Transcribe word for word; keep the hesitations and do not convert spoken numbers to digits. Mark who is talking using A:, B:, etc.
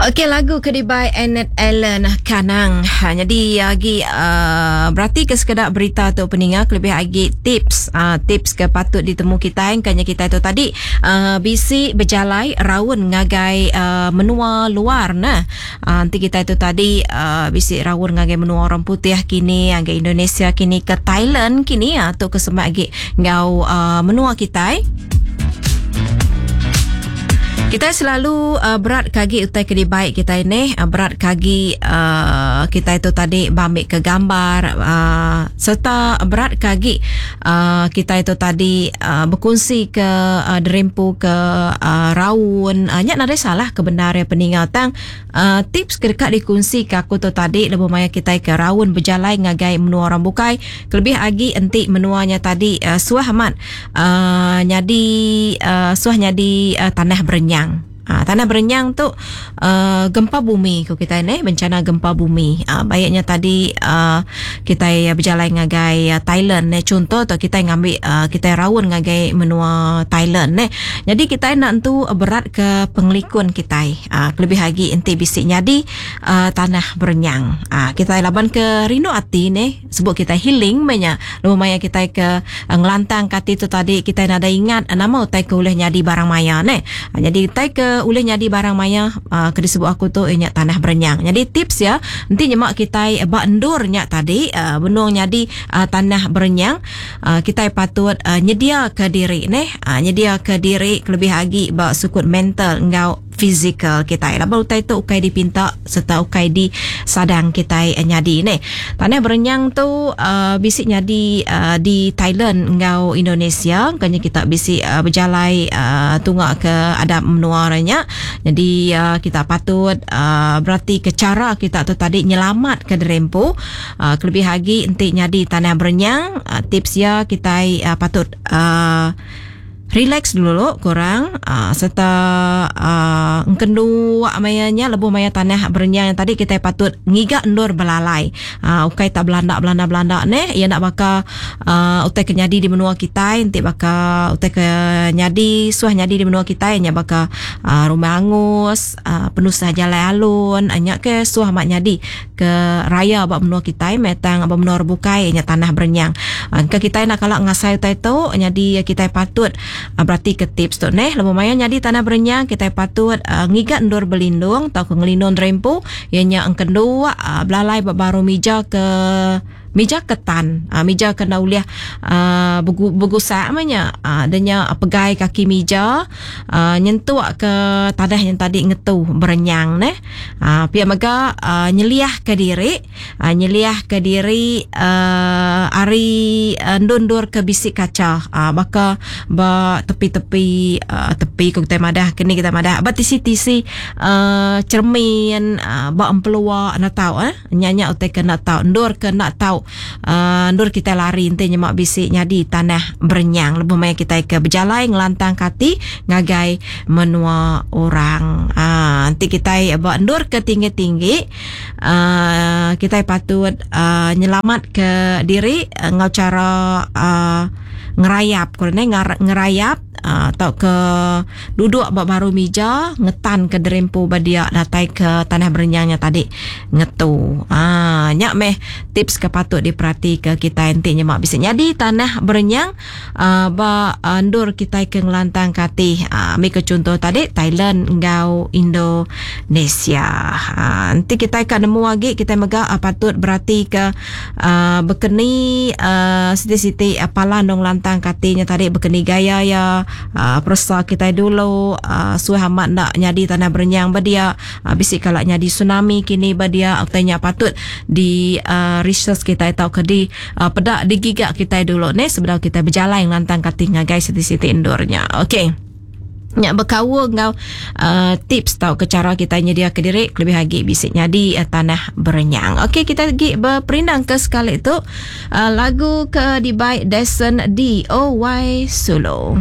A: Okey, lagu ke dibai Annette Allen, Kanang. Ha, jadi agi uh, berarti ke sekeda berita tu peninga, lebih agi tips uh, tips ke patut ditemu kita kanya kita tu tadi uh, bisi berjalai raun ngagai uh, menua luar nah. Uh, nanti kita tu tadi uh, bisi raun ngagai menua orang putih kini, ngagai Indonesia kini, ke Thailand kini uh, tu ke semak agi ngau uh, menua kita. Kita selalu uh, berat kagi utai ke dibaik kita ini, uh, berat kagi uh, kita itu tadi bamik ke gambar, uh, serta berat kagi uh, kita itu tadi uh, berkongsi ke uh, derimpu ke uh, raun. Uh, nyak nadai salah kebenaran peningal tang uh, tips ke dekat dikongsi ke aku tu tadi lebuh maya kita ke raun berjalai ngagai menua orang bukai, kelebih agi entik menuanya tadi uh, suah amat uh, nyadi uh, suah nyadi uh, tanah berenyang. Ha, tanah berenyang tu uh, gempa bumi ko kita ni, bencana gempa bumi. Ha, baiknya tadi uh, kita berjalan ngagai uh, Thailand ne, contoh tu kita ngambil uh, kita raun ngagai menua Thailand ne. Jadi kita nak tu berat ke pengelikun kita. Ha, lebih lagi enti bisik nyadi uh, tanah berenyang. Ha, kita laban ke rindu ati ne, sebut kita healing banyak. Lumayan kita ke uh, ngelantang kati tu tadi kita nada ingat uh, nama utai ke ulih nyadi barang maya ne. Ha, jadi utai ke ulih nyadi barang maya uh, ke disebut aku tu inyak tanah berenyang. Jadi tips ya, nanti nyemak kita bak endur nyak tadi uh, benung nyadi uh, tanah berenyang, uh, kita patut uh, nyedia ke diri neh, uh, nyedia ke diri lebih lagi bak sukut mental ngau fizikal kita. Laban utai tu ukai dipinta serta ukai di sadang kita nyadi neh. Tanah berenyang tu uh, bisik nyadi uh, di Thailand ngau Indonesia, kanya kita bisik uh, berjalai uh, tungak ke adab menua orangnya. Jadi uh, kita patut uh, berarti ke cara kita tu tadi nyelamat ke derempu. Uh, kelebih lagi entik nyadi tanah berenyang, uh, tips ya kita uh, patut uh, relax dulu korang, uh, serta uh, engkendu mayanya lebuh maya tanah berenyang yang tadi kita patut ngiga endur belalai. Uh, ukai tak belanda belanda belanda ne, ia nak baka uh, utai kenyadi di menua kita, entik baka utai kenyadi suah nyadi di menua kita nya baka uh, rumah angus, uh, penusah jalan alun, nya ke suah mak nyadi ke raya bak menua kita metang bak menua bukai nya tanah berenyang. Uh, ke kita nak kalak ngasai utai tu nyadi kita patut Uh, berarti ke tips tu neh, lebuh maya nyadi tanah berenyang kita patut uh, ngigat endur berlindung atau ke ngelindung rempu ianya engkendu uh, belalai bak baru mija ke mija ketan, uh, mija kena uliah uh, begu, begusak amanya, uh, denya uh, pegai kaki mija uh, nyentuk ke tanah yang tadi ngetu berenyang neh. Uh, pihak mega uh, nyeliah ke diri, uh, nyeliah ke diri uh, ari uh, ndundur ke bisik kaca, uh, baka ba tepi-tepi uh, tepi ko kita madah kini kita madah ba tisi-tisi uh, cermin uh, ba empelua nak tahu eh nyanyak utai ke nak tahu ndur ke nak tahu Uh, ndur kita lari ente nyemak bisik nyadi tanah berenyang lebih maya kita ke berjalai ngelantang kati ngagai menua orang. Ah, nanti kita buat ndur ke tinggi-tinggi, uh, kita patut uh, nyelamat ke diri uh, ngau cara uh, ngerayap kalau ni ngerayap uh, atau ke duduk bak baru mija ngetan ke derempu badia datai ke tanah berenyangnya tadi ngetu. Ah, nyak meh tips ke patut diperhati ke kita enti nyemak bisa nyadi tanah berenyang uh, ba ndur kita ke ngelantang kati. Ah, mi ke contoh tadi Thailand ngau Indonesia. Ah, nanti kita ke nemu lagi kita mega uh, patut berarti ke uh, bekeni uh, siti-siti uh, palan dong lantang katinya tadi bekeni gaya ya uh, persa kita dulu uh, suah amat nak nyadi tanah berenyang badia uh, bisik kalak nyadi tsunami kini badia utainya patut di uh, research kita atau ke di uh, pedak digigak kita dulu ne sebelum kita berjalan lantang kati ngagai siti-siti endurnya. Okey. Nyak berkawa ngau uh, tips tau ke cara kita nyedia ke diri lebih lagi bisik nyadi uh, tanah berenyang. Okey, kita pergi berperindang ke sekali tu uh, lagu ke dibaik Deson D O Y Solo.